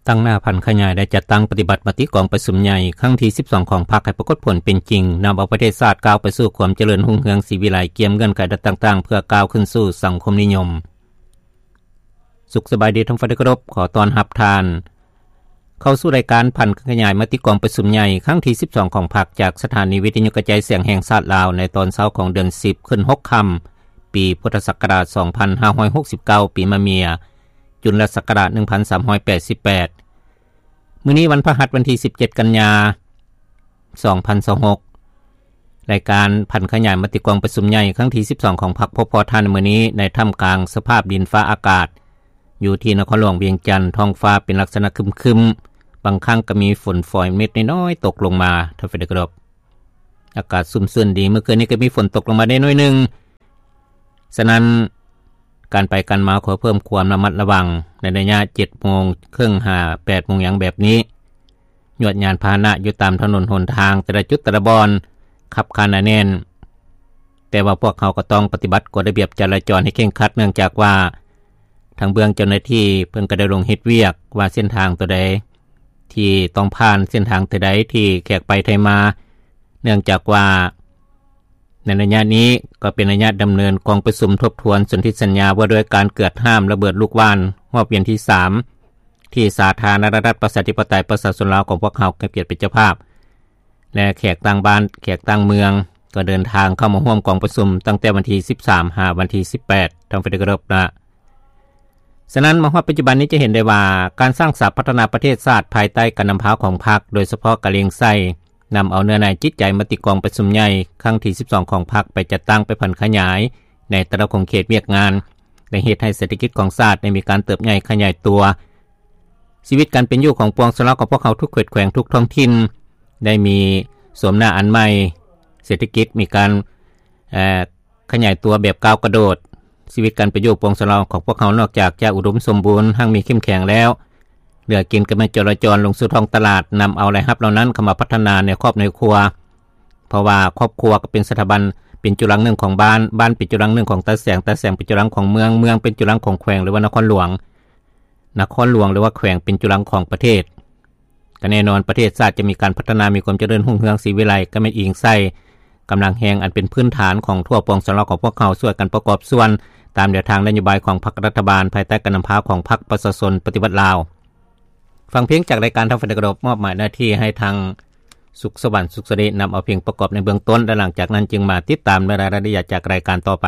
ຕັ້ງໜ້າຜັນຂະຫຍາຍ ແລະ ຈັດຕັ້ງປະຕິບັດມະຕິກອງປະຊຸມໃຫຍ່ຄັ້ງທີສິບສອງຂອງພັກໃຫ້ປາກົດຜົນເປັນຈິງ, ນຳເອົາປະເທດຊາດກ້າວໄປສູ່ຄວາມຈະເລີນຮຸ່ງເຮືອງສີວິໄລ ກຽມເງື່ອນໄຂລັດຕ່າງໆ ເພື່ອກ້າວຂຶ້ນສູ່ສັງຄົມນິຍົມ. ສຸກສະບາຍດີທ່ານຜູ້ຟັງທີ່ເຄົາລົບ, ຂໍຕ້ອນຮັບທ່ານເຂົ້າສູ່ລາຍການຜັນຂະຫຍາຍມະຕິກອງປະຊຸມໃຫຍ່ຄັ້ງທີສິບສອງຂອງພັກ ຈາກສະຖານີວິທະຍຸກະຈາຍສຽງແຫ່ງຊາດລາວ ໃນຕອນເຊົ້າຂອງເດືອນສິບ ຂຶ້ນຫົກຄ່ຳ ປີພຸດທະສັກກະລາດສອງພັນຫ້າຮ້ອຍຫົກສິບເກົ້າ ປີມະເມຍ ຈຸນລະສັກກະລາດໜຶ່ງພັນສາມຮ້ອຍແປດສິບແປດ. ມື້ນີ້ວັນພະຫັດ ວັນທີສິບເຈັດ ກັນຍາ ສອງພັນຊາວຫົກ. ລາຍການຜັນຂະຫຍາຍມະຕິກອງປະຊຸມໃຫຍ່ຄັ້ງທີສິບສອງຂອງພັກ ພົບພໍ້ທ່ານໃນມື້ນີ້ ໃນທ່າມກາງສະພາບດິນຟ້າອາກາດ ຢູ່ທີ່ນະຄອນຫຼວງວຽງຈັນ, ທ້ອງຟ້າເປັນລັກສະນະຄຶມໆ, ບາງຄັ້ງກໍມີຝົນຝອຍເມັດນ້ອຍໆຕົກລົງມາ. ທ່ານຜູ້ຟັງທີ່ເຄົາລົບ, ອາກາດຊຸ່ມຊື່ນດີ, ເມື່ອຄືນນີ້ກໍມີຝົນຕົກລົງມາໄດ້ໜ້ອຍໜຶ່ງ. ສະນັ້ນ ການໄປການມາຂໍເພີ່ມຄວາມລະມັດລະວັງ ໃນໄລຍະເຈັດໂມງເຄິ່ງຫາແປດໂມງຫຍັງແບບນີ້. ຍວດຍານພາຫະນະຢູ່ຕາມຖະໜົນຫົນທາງແຕ່ລະຈຸດແຕ່ລະບ່ອນ ຂັບຄາໜາແໜ້ນ, ແຕ່ວ່າພວກເຮົາກໍຕ້ອງປະຕິບັດກົດລະບຽບຈະລາຈອນໃຫ້ເຄັ່ງຄັດ, ເນື່ອງຈາກວ່າທາງເບື້ອງເຈົ້າໜ້າທີ່ເພິ່ນກໍໄດ້ລົງເຮັດວຽກວ່າເສັ້ນທາງຕົວໃດທີ່ຕ້ອງຜ່ານ, ເສັ້ນທາງຕົວໃດທີ່ແຂກໄປໄທມາ, ເນື່ອງຈາກວ່າ ໃນໄລຍະນີ້ກໍເປັນໄລຍະດຳເນີນກອງປະຊຸມທົບທວນສົນທິສັນຍາວ່າດ້ວຍການເກືອດຫ້າມລະເບີດລູກຫວ່ານຮອບວຽນທີສາມ ທີ່ສາທາລະນະລັດປະຊາທິປະໄຕປະຊາຊົນລາວຂອງພວກເຮົາເປັນເຈົ້າພາບ ແລະ ແຂກຕ່າງບ້ານແຂກຕ່າງເມືອງກໍເດີນທາງເຂົ້າມາຮ່ວມກອງປະຊຸມຕັ້ງແຕ່ວັນທີສິບສາມຫາວັນທີສິບແປດ. ທ່ານຜູ້ທີ່ເຄົາລົບ, ສະນັ້ນມາຮອດປັດຈຸບັນນີ້ຈະເຫັນໄດ້ວ່າ ການສ້າງສາພັດທະນາປະເທດຊາດພາຍໃຕ້ການນຳພາຂອງພັກ ໂດຍສະເພາະກະເລັງໃສ່ ນຳເອົາເນື້ອໃນຈິດໃຈມະຕິກອງປະຊຸມໃຫຍ່ຄັ້ງທີສິບສອງຂອງພັກໄປຈັດຕັ້ງໄປຜັນຂະຫຍາຍໃນແຕ່ລະຂົງເຂດວຽກງານ ໄດ້ເຮັດໃຫ້ເສດຖະກິດຂອງຊາດໄດ້ມີການເຕີບໃຫຍ່ຂະຫຍາຍຕົວ. ຊີວິດການເປັນຢູ່ຂອງປວງຊາວລາວຂອງພວກເຮົາທຸກເຂດແຂວງທຸກທ້ອງຖິ່ນ ໄດ້ມີໂສມໜ້າອັນໃໝ່, ເສດຖະກິດມີການ ເອີ ຂະຫຍາຍຕົວແບບກ້າວກະໂດດ. ຊີວິດການເປັນຢູ່ຂອງປວງຊາວລາວຂອງພວກເຮົາ ນອກຈາກຈະອຸດົມສົມບູນຮັ່ງມີເຂັ້ມແຂງແລ້ວ ເຫຼືອກິນກໍແມ່ນຈໍລະຈອນລົງສູ່ທ້ອງຕະຫຼາດ, ນຳເອົາລາຍຮັບເຫຼົ່ານັ້ນເຂົ້າມາພັດທະນາໃນຄອບໃນຄົວ, ເພາະວ່າຄອບຄົວກໍເປັນສະຖາບັນ, ເປັນຈຸລັງໜຶ່ງຂອງບ້ານ, ບ້ານເປັນຈຸລັງໜຶ່ງຂອງຕາແສງ, ຕາແສງເປັນຈຸລັງຂອງເມືອງ, ເມືອງເປັນຈຸລັງຂອງແຂວງ ຫຼືວ່ານະຄອນຫຼວງ, ນະຄອນຫຼວງ ຫຼືວ່າແຂວງເປັນຈຸລັງຂອງປະເທດ. ກໍແນ່ນອນ ປະເທດຊາດຈະມີການພັດທະນາ, ມີຄວາມຈະເລີນຮຸ່ງເຮືອງສີວິໄລ ກໍແມ່ນອີງໃສ່ກຳລັງແຮງອັນເປັນພື້ນຖານຂອງທົ່ວປວງຊາວລາວຂອງພວກເຮົາ ຊ່ວຍກັນປະກອບສ່ວນຕາມແນວທາງນະໂຍບາຍຂອງພັກລັດຖະບານ ພາຍໃຕ້ການນຳພາຂອງພັກປະຊາຊົນປະຕິວັດລາວ. ຟັງເພງຈາກລາຍການ ທ່ານຜູ້ທີ່ເຄົາລົບ, ມອບໝາຍໜ້າທີ່ໃຫ້ທາງ ສຸກສະຫວັນ ສຸກສະເດ ນຳເອົາເພງປະກອບໃນເບື້ອງຕົ້ນ ແລະ ຫຼັງຈາກນັ້ນຈຶ່ງມາຕິດຕາມໃນລາຍລະອຽດຈາກລາຍການຕໍ່ໄປ.